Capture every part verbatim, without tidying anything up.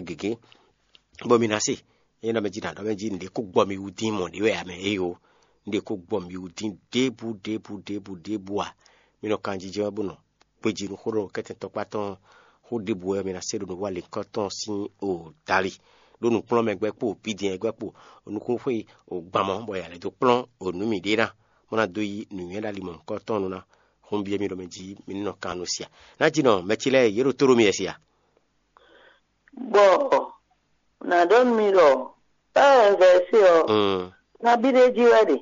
gěgé, bɔ mi ná se. É nɔ mɛ jí nǎ ɖɔ mɛ jí nǔɖé kó gbɔ mi wú dín mɔ̌ ɖé wɛ ǎ mɛ, éyo, nǔɖé kó gbɔ mi wú dín ɖěbǔ ɖěbǔ ɖěbǔ ɖěbǔ ǎ. Mi nɔ kanjijɛ wɛ bó nɔ gbejí nú xó ɖɔ kɛ́tɛn tɔkpá tɔn xó ɖěbǔ wɛ mi ná se ɖo nǔwanlínkɔ tɔn sín o dali. Ɖó nǔkplɔ́nmɛ gbɛ́ kpo, bídɛn gbɛ́ kpo, nukúnxwe o gbamɔ, bɔ yǎ lɛ́ dó kplɔ́n o nǔ mi ɖé ná, bó ná dó yí nǔnywɛ́ ɖo ali mɔ̌hunkɔtɔn nu ná. Xó un byɔ́ mi ɖɔ mɛ jí mi ní nɔ kan nú sia. Ná jí nɔ mɛ ce lɛ́ɛ yě ɖo tó ɖó mi wɛ sia. Bɔ nǎ ɖɔ nú mi ɖɔ ée vɛ̌si ɔ́, nabí ɖé jí wɛ ɖe.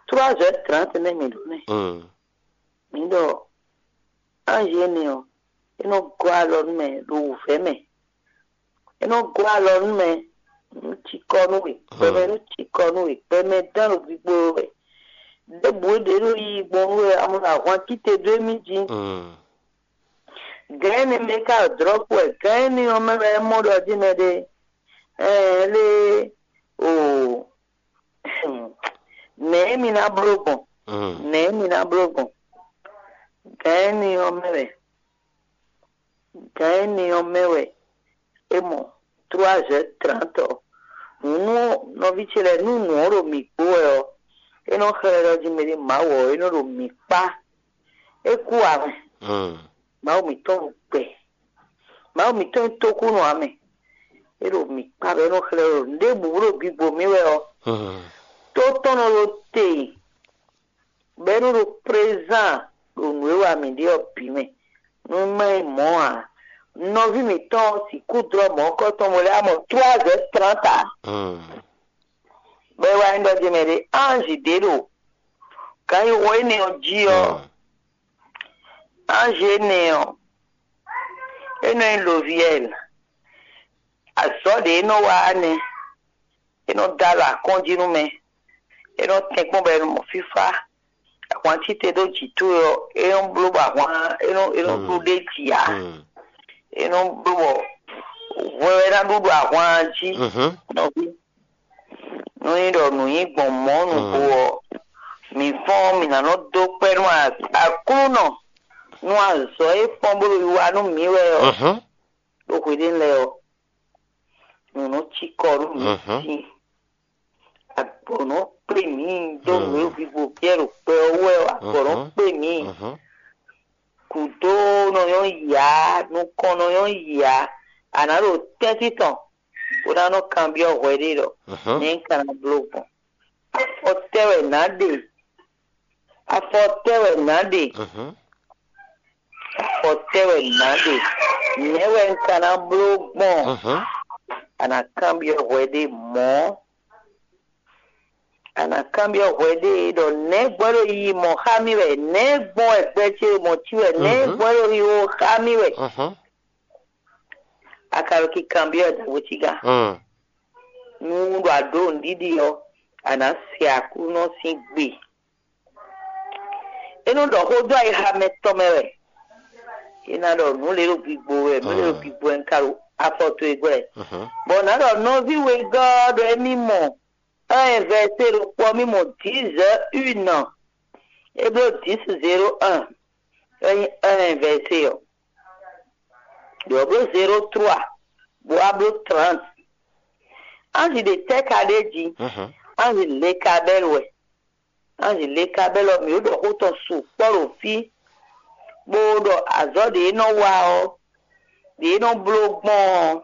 Trois heures trente nɛ́ mǐ ɖó nɛ́. Mǐ ɖɔ anji énɛ́ ɔ́, é nɔ gɔ́ alɔ nú mɛ ɖo wǔvɛ́ mɛ. É nɔ gɔ́ alɔ nú mɛ nú cikɔ nú we, gbɛmɛ nú cikɔ nú we, gbɛmɛ dán ɖo gbigbo wɛ. Ɖěbǔ ɖě ɖo yiyi gbɔn nú we, amɔ ɖo ahwan cíte dó émí jí. Gǎn énɛ́ mɛ ka ɖo dlɔ̌ kú wɛ, gǎn énɛ́ ɔ́ mɛ wɛ é mɔ ɖɔ jí mɛ ɖé. Ɛɛ lé o nɛ̌ mi ná bló gbɔn? Nɛ̌ mi ná bló gbɔn? Gǎn énɛ́ ɔ́ mɛ wɛ gǎn énɛ́ ɔ́ mɛ wɛ é mɔ trois heures trente ɔ́. Nǔ nú nɔví ce lɛ́ɛ nú nǔ ɔ́ ɖo mǐ kpó wɛ ɔ́, é nɔ xlɛ́ ɖɔ jí mɛɖé Mawu ɔ́ é nɔ ɖo mǐ kpá. É kú ǎ mɛ. Mawu mǐtɔn ɖo gbɛ. Mawu mǐtɔn nyí tókúnɔ ǎ mɛ. É ɖo mǐ kpá bɔ é nɔ xlɛ́ ɖɔ nǔɖěbǔ ɖo gbigbo mì wɛ ɔ́, tó tɔn nɔ ɖo te bɔ é nɔ ɖo présent ɖo nǔ e wa mǐ ɖe ɔ́ bǐ mɛ. Nú má nyí mɔ̌ ǎ, nɔví mǐtɔn ɔ́ sixú dlɔ́ mɔ̌kɔ́ tɔn bɔ lɛ́ wá mɔ trois heures trente ǎ. Bɔ é wá nyí ɖɔ jí mɛ ɖé anji ɖě ɖo gǎnyixɔ énɛ́ ɔ́ jí ɔ́, anji énɛ́ ɔ́, é nɔ nyí loviɛl. Azɔ̌ ɖě é nɔ wa ɔ́ nɛ́. É nɔ dó alɔ akɔ́njí nú mɛ. É nɔ tɛ́nkpɔ́n bɔ è nɔ mɔ fífá. Ahwan cíte dó jǐ towe ɔ́, é nɔ bló bɔ ahwan é nɔ é nɔ ɖu ɖ'é jí ǎ. É nɔ bló bɔ hwɛ wɛ ná ɖu ɖo ahwan jí. Nɔví, nú nyí ɖɔ nǔ nyí gbɔn mɔ̌ nǔgbó ɔ́, mǐ fɔ́n mǐ ná nɔ dó kpɛ́ nú Aklúnɔ nú azɔ̌ e fɔ́n bó ɖo wiwa nú mǐ wɛ ɔ́ ɖo hweɖénu lɛ́ɛ ɔ́. Nǔ nɔ cikɔ nú mǐ sín. Agbɔ̌ nɔ kplé mǐ dó nǔ e hwivú Piyɛ́ɛ ɖo kpɛ ɔ́ wú wɛ ɔ́, agbɔ̌ nɔ kplé mǐ. Gǔdo nɔ nyɔ́ yǎ, nukɔn nɔ nyɔ́ yǎ. A nǎ ɖo tɛ́ntin tɔn bó ná nɔ kanbyɔ́ hwɛ ɖé ɖɔ nɛ̌ un ka ná bló gbɔn. Afɔ tɛ́ wɛ nǎ ɖe? Afɔ tɛ́ wɛ nǎ ɖe? Afɔ tɛ́ wɛ nǎ ɖe? Nɛ̌ wɛ un ka ná bló gbɔn? A nǎ kanbyɔ́ hwɛ ɖé mɔ̌. A nǎ kanbyɔ́ hwɛ ɖé ɖɔ nɛ̌ gbɔn é ɖo yiyi mɔ̌ xá mì wɛ? Nɛ̌ gbɔn wɛ gbɛ ce ɖo mɔ̌ cí wɛ? Nɛ̌ gbɔn é ɖo yiyi xá mì wɛ? A ka ɖo kikanbyɔ́ ɖagbe cígán. Nú ɖo a ɖǒ nǔɖiɖi ɔ́, a nǎ se Aklúnɔ sín gbe. É nɔ ɖɔ xó dó ayixa mɛtɔn mɛ wɛ. É ná ɖɔ nǔ lě ɖo gbigbo wɛ, nǔ lě ɖo gbigbo wɛ un ka ɖo afɔ towe gbɔ wɛ. Bɔ nǎ ɖɔ nɔví wegɔ́ ɔ́ ɖɔ émí mɔ un vɛsé ɖokpó ɔ́, mì mɔ dix heures une. É bló dix zéro un. É nyí un vɛsé ɔ́. Ɖě ɔ́ bló zéro trois, bó wá bló trente. Anji ɖě tɛ́ ka ɖ'é jí? Anji Lekabɛ́lu wɛ. Anji Lekabɛ́lu ɔ́, mǐ ɖo ɖɔ xó tɔn sukpɔ́ ɖo fí, bó ɖɔ azɔ̌ ɖě é nɔ wa ɔ́, ɖě é nɔ bló gbɔn ɔ́,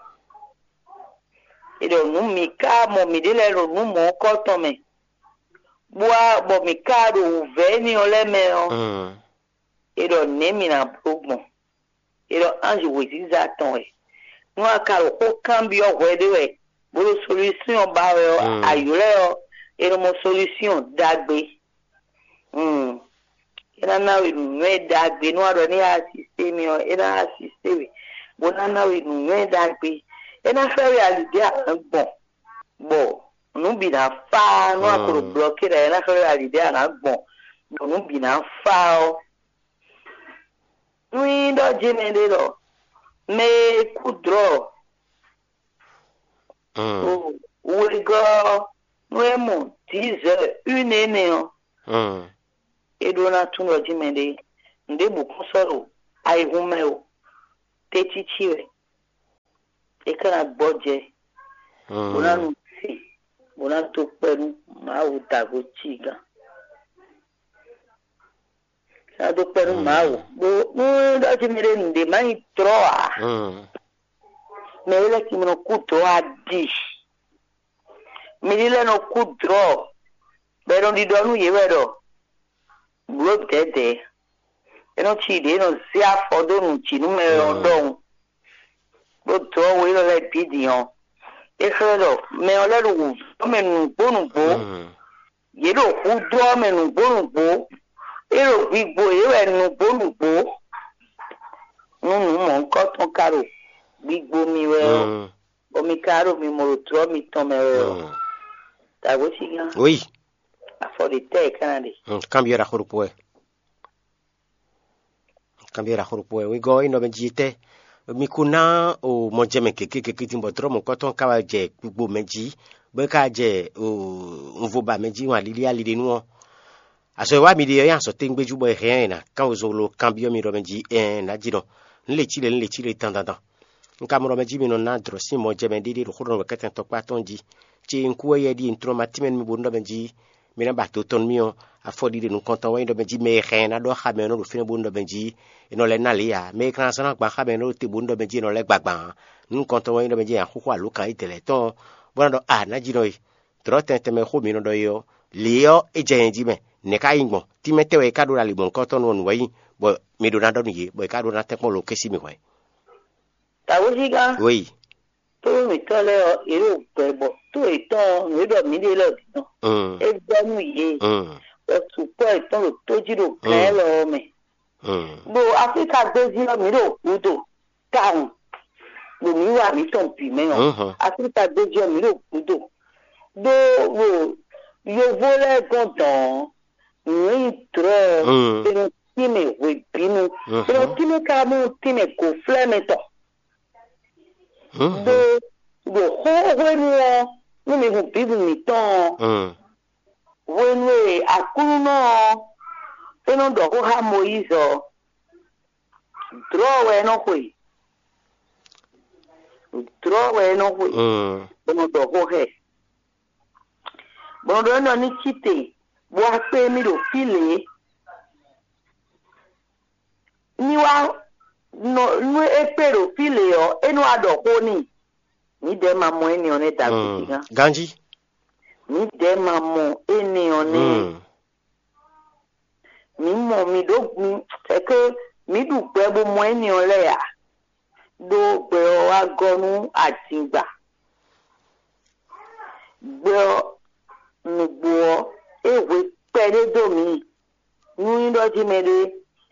è ɖɔ nǔ mǐ ka mɔ mǐɖée lɛ́ɛ ɖo nǔ mɔ̌hunkɔtɔn mɛ, bó wá bɔ mǐ ka ɖo wǔvɛ́ énɛ́ ɔ́ lɛ́ɛ mɛ ɔ́, è ɖɔ nɛ̌ mǐ ná bló gbɔn? È ɖɔ anji wěziza tɔn wɛ. Nú a ka ɖo xó kanbyɔ́ hwɛ ɖé wɛ, bó ɖo solúsyɔn ba wɛ ɔ́, a ylɔ́ ɛ ɔ́, è nɔ mɔ solúsyɔn ɖagbe. É ná ná we nǔnywɛ́ ɖagbe. Nú a ɖɔ ní a asisté mì ɔ́, é ná asisté we, bó ná ná we nǔnywɛ́ ɖagbe. É ná xlɛ́ we ali ɖě a nǎ gbɔn, bɔ nǔ bǐ ná fá. Nú a ko ɖo blɔkí ɖa, é ná xlɛ́ we ali ɖě a nǎ gbɔn, bɔ nǔ bǐ ná fá ɔ́. Nú nyí ɖɔ jí mɛɖé ɖɔ mɛ e kú dlɔ̌ wegɔ́ ɔ́, nú é mɔ dǐzɛ̌ une énɛ́ ɔ́, é ɖó ná tunwun ɖɔ jí mɛɖé nǔɖébǔ kún sɔ́ ɖo ayihún mɛ o, tɛ́cící wɛ. É ka ná gbɔjɛ, bó ná nu sin, bó ná dó kpɛ́ nú Mawu dǎgbó cígán. É ná dó kpɛ́ nú Mawu. Bó nú é ɖɔ jí mi ɖe nǔɖé má nyí tlɔ́ ǎ, mɛ é lɛ́ ki mi nɔ kú dɔ̌ a ɖi. Mi ní lɛ́ nɔ kú dlɔ̌, bɔ è nɔ ɖiɖɔ nú yě wɛ ɖɔ: "Blǒ dɛ̌dɛ̌." É nɔ cí ɖě è nɔ zé afɔ dó nǔ jí nú mɛ ɔ́ ɖɔhun, ɖó dlɔ̌ we élɔ́ lɛ́ɛ bǐ din ɔ́, é xlɛ́ ɖɔ mɛ ɔ́ lɛ́ ɖo wǔvɛ́ mɛ nǔgbó nǔgbó. Yě ɖo hudó ɔ́ mɛ nǔgbó nǔgbó. É ɖo gbigbo yě wɛ nǔgbó nǔgbó. Nú nǔ mɔ̌hunkɔtɔn ka ɖo gbigbo mi wɛ ɔ́, bɔ mi ka ɖo mi mɔ ɖo tlɔ́ mitɔn mɛ wɛ ɔ́, dǎgbó cígán, oui, afɔ ɖě tɛ́ è ka ná ɖe. Kanbyɔ́ ɖaxó ɖokpó wɛ. Kanbyɔ́ ɖaxó ɖokpó wɛ. Wegɔ́ ɔ́, é nɔ mɛ jí tɛ́? Mi ko ná o mɔjɛmɛ gěgé gěgé din bɔ tlɔ́ mɔ̌hunkɔtɔn ka wá jɛ gbigbo mɛ jí, bɔ é ka jɛ o unvo ba mɛ jí wan lili ali ɖé nu ɔ́, azɔ̌ e wá mi ɖe ɔ́ nyí azɔ̌ tɛ́ngbéjú bɔ è hɛn ɛ ná kán wezolo kanbyɔ́ mi ɖɔ mɛ jí ɛɛn nǎ jí nɔ. Nǔ le cí le nǔ le cí le dandandan. Un ka mɔ ɖɔ mɛ jí mi nɔ ná dlɔ̌ sín mɔjɛmɛ ɖéɖé ɖo xó ɖɔ nú wɛ̌kɛ́tɛn tɔkpá tɔn jí. Ce un kú wɛ yɛ ɖíe un tlɔ́n ma tínmɛ nú mi bónú ɖɔ mɛ jí mi ná ba do tɔn nú mì ɔ́, afɔ ɖiɖe nukɔntɔn wɛ nyí ɖɔ mɛ jí mɛ e hɛn ná ɖɔ xá mɛ ɔ́ nɔ ɖo fínɛ́ bónú ɖɔ mɛ jí è nɔ lɛ́ ná lě ǎ. Mɛ e ka ná zán ná gban xá mɛ ɔ́ nɔ ɖo te bónú ɖɔ mɛ jí è nɔ lɛ́ gbagban ǎ. Nukɔntɔn wɛ nyí ɖɔ mɛ jí nya xóxó alǒkan yi dɛ̌lɛ̌ tɔn ɔ́, bó ná ɖɔ a nǎ jí nɔ e. Dlɔ̌ tɛntɛn mɛ e xó mi nɔ ɖɔ é ɔ́, lě ɔ́ é jɛ nyɛ jí mɛ. Nɛ̌ ka nyí gbɔn? Tínmɛ tɛ́ wɛ é ka ɖó ɖo ali mɔ̌hunkɔtɔn nú ɔ́ nǔ wɛ nyí, bɔ mi ɖó ná ɖɔ nú yě, bɔ è ka ɖó ná tɛ́nkpɔ́n lo kɛ́ sí mi hwɛ̌? Dǎwézígán, oui, tónú mǐtɔn lɛ́ɛ ɔ́, yě ɖo gbɛ bɔ tó yětɔn ɔ́, nǔ e ɖɔ mǐ ɖe lɛ́ɛ ɔ́ bǐ tɔn. Mm. É vɛ́ nú yě, mm, bɔ sukpɔ́ yětɔn ɖo tó jí ɖo glɛ̌, mm, élɔ́ ɔ́ mɛ. Mm. Ɖo Aflíka gbéjí ɔ́, mǐ ɖo gǔdo tawun ɖo mǐ wa mǐtɔn bǐ mɛ ɔ́. Mhm. Aflíka gbéjí ɔ́, mǐ ɖo gǔdo. Ɖó ɖo yovó lɛ́ɛ gɔ́n dɔ̌n ɔ́, nǔ e nyí dlɔ̌ ɔ́, mm, è nɔ tínmɛ hwebǐnu. Mhm. È nɔ tínmɛ kára bó nɔ tínmɛ gǒflɛ́mɛ tɔn. Mhm. Ɖó ɖo xó hwenu ɔ́, nú mi hun Bíblu mǐtɔn ɔ́, mm, hwenu e Aklúnɔ ɔ́ é nɔ ɖɔ xó xá Mɔyízi ɔ́, dlɔ̌ wɛ é nɔ xwe. Dlɔ̌ wɛ é nɔ xwe, mm, bó nɔ ɖɔ xó xá ɛ. Bɔ un ɖɔ nú ní cí te, bó wá kpé mì ɖo fí lě. Ní wá nɔ, nú é kpé ɖo fí lě ɔ́, é nɔ wá ɖɔ xó n'i. Mǐdɛɛ ma mɔ énɛ́ ɔ́ nɛ́ da gběgbé gán. Ganjí. Mǐdɛɛ ma mɔ énɛ́ ɔ́ nɛ́. Mm. Mǐ mɔ mǐ ɖó gun, c'est que mǐ ɖu gbɛ bó mɔ énɛ́ ɔ́ lɛ́ɛ ǎ. Ɖó gbɛ ɔ́ wá gɔ́ nú adingba. Gbɛ ɔ́, nǔgbó ɔ́, é hwe kpɛɖé dó mǐ. Nú nyí ɖɔ jí mɛɖé,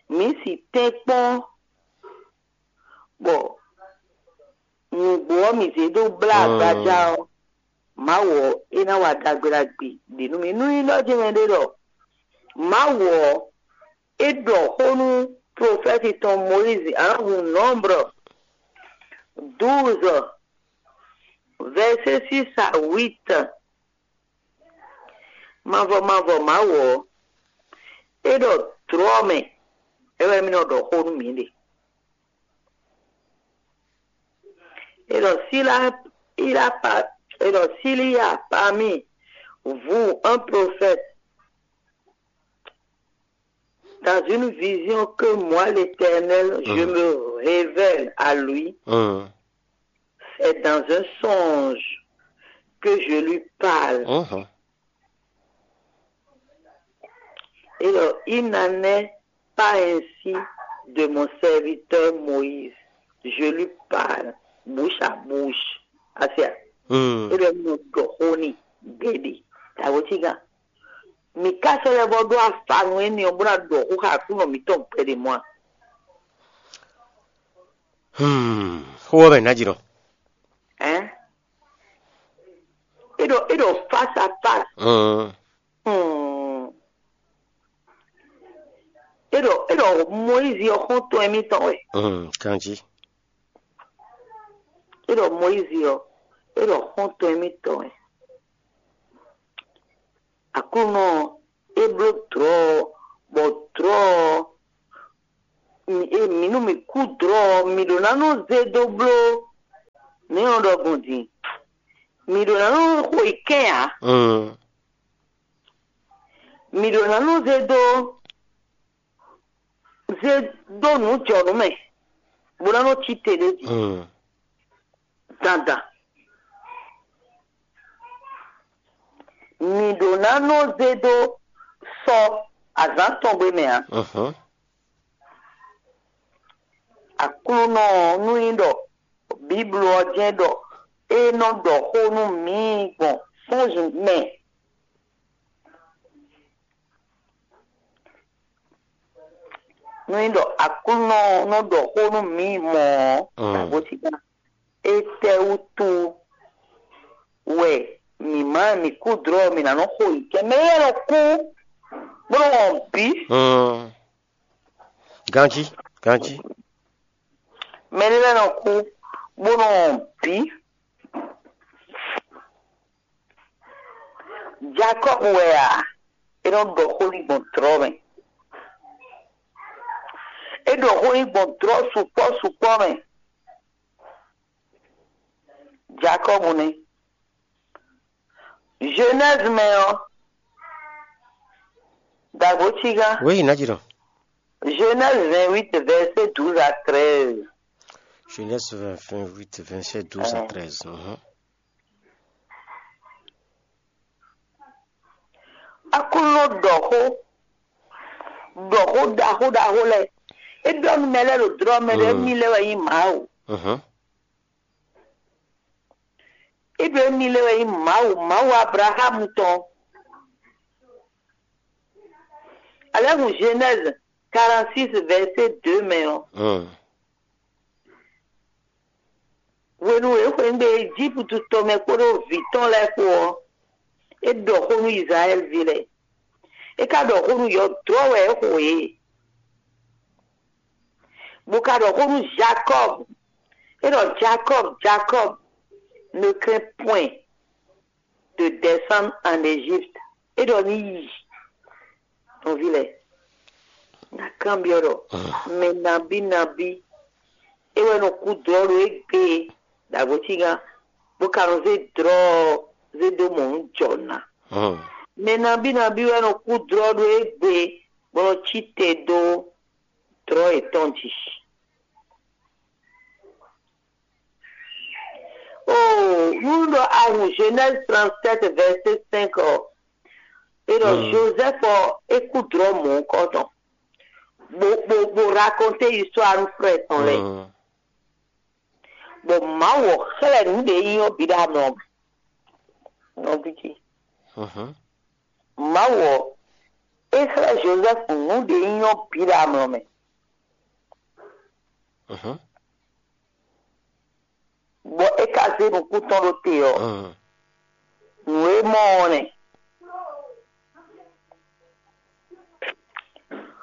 mǐ si tɛ́nkpɔ́n bɔ nǔgbó ɔ́ mǐ zé dó blá agbaja ɔ́, Mawu ɔ́, é ná wa ɖagbe ɖagbe ɖě nú mì. Nú nyí ɖɔ jí mɛɖé ɖɔ Mawu ɔ́, é ɖɔ xó nú profɛ́ti tɔn Mɔyízi, ǎ hun Nɔ́mblɔ dǔuzɔ, vɛ̌sé sísa wít. Mavɔ mavɔ Mawu ɔ́, é ɖɔ dlɔ̌ mɛ, é wɛ mì nɔ ɖɔ xó nú mǐ ɖe. Et donc, s'il a, il a pas, et donc, s'il y a parmi vous un prophète, dans une vision que moi, l'Éternel, je me révèle à lui, c'est dans un songe que je lui parle. Et donc, il n'en est pas ainsi de mon serviteur Moïse. Je lui parle bouche à bouche. Asia. Mm. E ɖɔ nɔ ɖɔ xó ni gbɛɖe. Tawo ti gán. Mi ka sɔ lɛ bɔ ɖo afanu eni ɔ bó na ɖɔ xó xa kú nɔ mi tɔn gbɛɖe mɔ a? Hmm. Xó wɔ mɛ ná jì nɔ. Hein? E ɖɔ, e ɖɔ face à face. Mm. Hmm. E ɖɔ, e ɖɔ Moyizi ɔ́ xɔ́ntɔn émítɔn wɛ. Mm, kanjí. E ɖɔ Moyizi ɔ́, e ɖɔ xɔ́ntɔn émítɔn wɛ. Aklúnɔ ɔ́, é bló dlɔ̌ ɔ́, bɔ dlɔ̌ ɔ́, mi, e, mǐ nú mǐ kú dlɔ̌ ɔ́, mǐ ɖó ná nɔ zé dó bló. Mǐ nɔ ɖɔ gbɔn din. Mǐ ɖo ná nɔ xo yi kɛn ǎ. Mm. Mǐ ɖo ná nɔ zé dó zé dó nǔ jɔ nǔ mɛ, bó ná nɔ cí te ɖé jí. Mm. Dandan. Mǐ ɖo ná nɔ zé dó sɔ azǎn tɔn gbe mɛ ǎ. Mhm. Aklúnɔ ɔ́, nú nyí ɖɔ Bíblu ɔ́ jɛ́n ɖɔ é nɔ ɖɔ xó nú mǐ gbɔn sɔ́nzun mɛ. Nú nyí ɖɔ Aklúnɔ ɔ́ nɔ ɖɔ xó nú mǐ mɔ̌ ɔ́, Mm. Nǎgbó sí gán. Étɛ́wútu wɛ mǐ má mǐ kú dlɔ́ mǐ ná nɔ xo yi kɛ? Mɛ e nɔ kú bó nɔ wɔn bǐ. Mm. Ganjí, ganjí. Mɛ ɖé lɛ́ɛ nɔ kú bó nɔ wɔn bǐ. Jakɔ́bu wɛ a? É nɔ ɖɔ xó n'i gbɔn dlɔ́ mɛ. É ɖɔ xó n'i gbɔn dlɔ́ sukpɔ́ sukpɔ́ mɛ. Jakɔ́bu nɛ́. Genèse mɛ ɔ́, Dagbochiga. Oui, Nadjiro. Genèse vingt-huit, verset douze à treize. Genèse vingt, vingt-huit, verset douze à treize. Mhm. Aklúnɔ ɖɔ xó, ɖɔ xó ɖaxó ɖaxó lɛ́ɛ. É ɖɔ nú mɛ lɛ́ɛ ɖo dlɔ́ mɛ ɖɔ émí lɛ́ɛ wɛ nyí Mawu. Mhm. É ɖɔ émí lɛ́ɛ wɛ nyí Mawu, Mawu Ablaxámu tɔn. Alɛ́ hun Genèse quarante-six, verset deux mɛ ɔ́, Mm. Hwenu e é xweyǐgbe Ejípútu tɔn mɛ kpódó vǐ tɔn lɛ́ɛ kpó ɔ́, é ɖɔ xó nú Izlayɛ́li ví lɛ́ɛ. É ka ɖɔ xó nú yɔdlɔ́ wɛ é xo yě. Bó ka ɖɔ xó nú Jakɔ́bu. É ɖɔ Jakɔ́bu, Jakɔ́bu, ne crains point de descendre en Égypte. É ɖɔ ní yi. Nɔví lɛ́ɛ, ná kanbyɔ́ ɖɔ mɛ nabí nabí é wɛ nɔ kú dlɔ́ ɖo égbé ɖagbo cígán, bó ka nɔ zé dlɔ́ ɔ́ zé dó mɔ nǔ jɔ ná. Mɛ nabí nabí wɛ nɔ kú dlɔ́ ɖo égbé bó nɔ cí te dó dlɔ́ yětɔn jí. Oh, nú ɖɔ a hun Genèse trente-sept, verset cinq ɔ́, é ɖɔ Joseph ɔ́, é kú dlɔ́ mɔ̌hunkɔtɔn, bó bó bó raconter histoire nú frère tɔn lɛ́ɛ. Bɔ Mawu ɔ́ xlɛ́ nǔ ɖě nyí ɔ́ bǐ ɖo amlɔ mɛ. Nɔví ce, Mawu ɔ́, é xlɛ́ Joseph nǔ ɖě nyí ɔ́ bǐ ɖo amlɔ mɛ. Bɔ é ka zé nukún tɔn ɖó te ɔ́, nǔ e mɔ ɔ́ nɛ́.